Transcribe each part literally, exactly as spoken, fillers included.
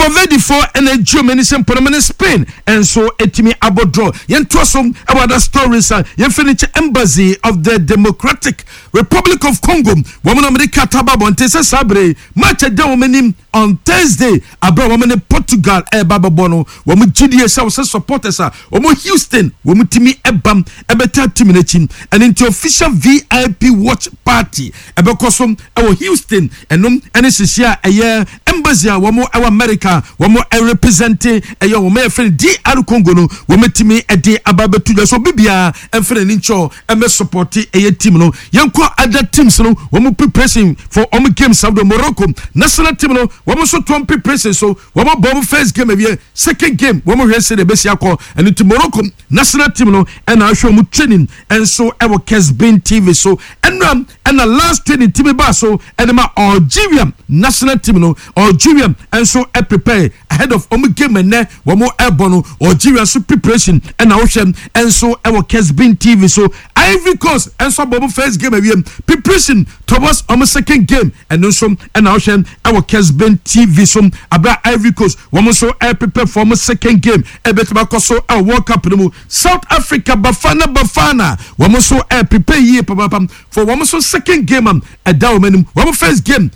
Cape Verde foɔ ɛna egye wɔn ani sɛ mpɔnɔmɔ ne Spain nso etumi abɔ draw. Yɛntoa so ɛwɔ other stories a yɛmfɛ no kyɛ. Embassy of the Democratic Republic of Congo, wɔn na wɔde kata ba abɔnten sɛ saa bere match ɛda wɔn anim on Thursday, abere wɔn ne Portugal ɛreba bɛbɔ no, wɔn gyidie sɛ wɔsɛ supporters a wɔn Houston wɔn tumi ɛbam ɛbɛta team n'akyi. Ɛne nti official V I P watch party ɛbɛkɔ so ɛwɔ Houston. Ɛnom ɛne sisi a ɛyɛ embassy a wɔn ɛwɔ America wɔn ɛrepresent ɛyɛ wɔn ɛyɛ fɛn D R Congo no, wɔn tumi ɛde aba abɛto dwa so bibiara ɛmfɛn n'ani nkyɛn ɛmɛ support ɛyɛ team no. Yɛnkɔ other teams no, wɔn preparation for wɔn games ahodoɔ. Morocco national team no, wɔn nso tɔn preparation so. Wɔn abɔ wɔn first game awie, second game wɔn hwɛ sɛ de ebesi akɔ. Ɛno ti Morocco national team no ɛna ahwɛ wɔn training ɛnso ɛwɔ Kesbin T V so. Ɛnura ɛna last training team ba so ɛde ma Algeria national team no. Algeria ɛnso ɛprepare ahead of wɔn game ɛnɛ wɔn ɛbɔ no. Algeria nso preparation ɛna ahwɛ ɛnso ɛwɔ Kesbin T V so. Ivory Coast ɛnso abɔ wɔn first game awie, preparation towards wɔn second game, ɛno nso ɛna ahwɛ ɛwɔ Kesbin T V so. Abira Ivory Coast, wɔn nso ɛprepare for wɔn second game ɛbɛtumi akɔ so ɛwɔ World Cup no mu. South Africa, Bafana Bafana, wɔn nso ɛprepare yie papapam for wɔn nso second game a ɛda wɔn anim. Wɔn first game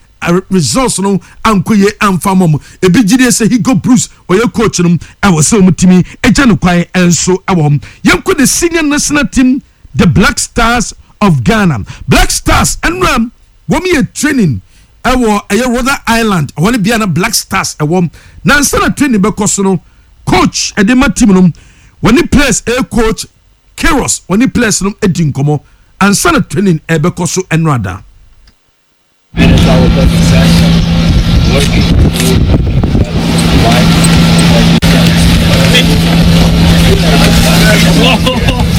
results no ankɔ yie amfa mɔ mu. Ebi gyidie sɛ Hugo Broos, ɔyɛ coach no, ɛwɔ sɛ wɔn tumi agya no kwan ɛnso ɛwɔ hɔ. Yɛnkɔ the senior national team, the Black Stars of Ghana. Black Stars ɛnura wɔn yɛ training ɛwɔ ɛyɛ Rhode Island ɛwɔ ne bea na Black Stars ɛwɔ. Nansa na training bɛkɔ so no, coach ɛde ma team no, wɔne players, ɛyɛ Coach Queiroz, wɔne players no edi nkɔmɔ ansa na training ɛbɛkɔ so ɛnura da. Finish our best session, working with life.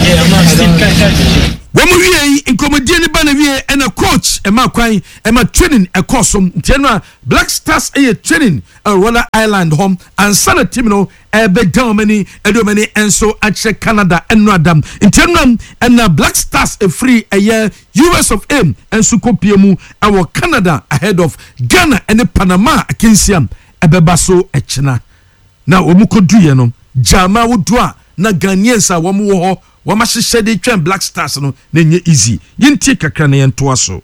Yeah, I'm not Steve. Wɔn wie yi, nkɔmɔdie ne ba na wie, ɛna coach ɛma kwan ɛma training ɛkɔ so. Nti ɛno a Black Stars ɛyɛ training ɛwɔ Rhode Island hɔ ansa na team no ɛbɛda wɔn ani ɛde wɔn ani nso akyerɛ Canada ɛno adam. Nti ɛno ɛna Black Stars efiri ɛyɛ U S of A nso kɔ mu ɛwɔ Canada ahead of Ghana ɛne Panama akansia ɛbɛba so ɛkyina. Na wɔn kɔ duyɛ no gyama wodo a na Ghanaians a wɔn wɔ hɔ wɔn ahyehyɛ de twɛn Black Stars no na nye easy. Yɛntie kakra na yɛntoa so.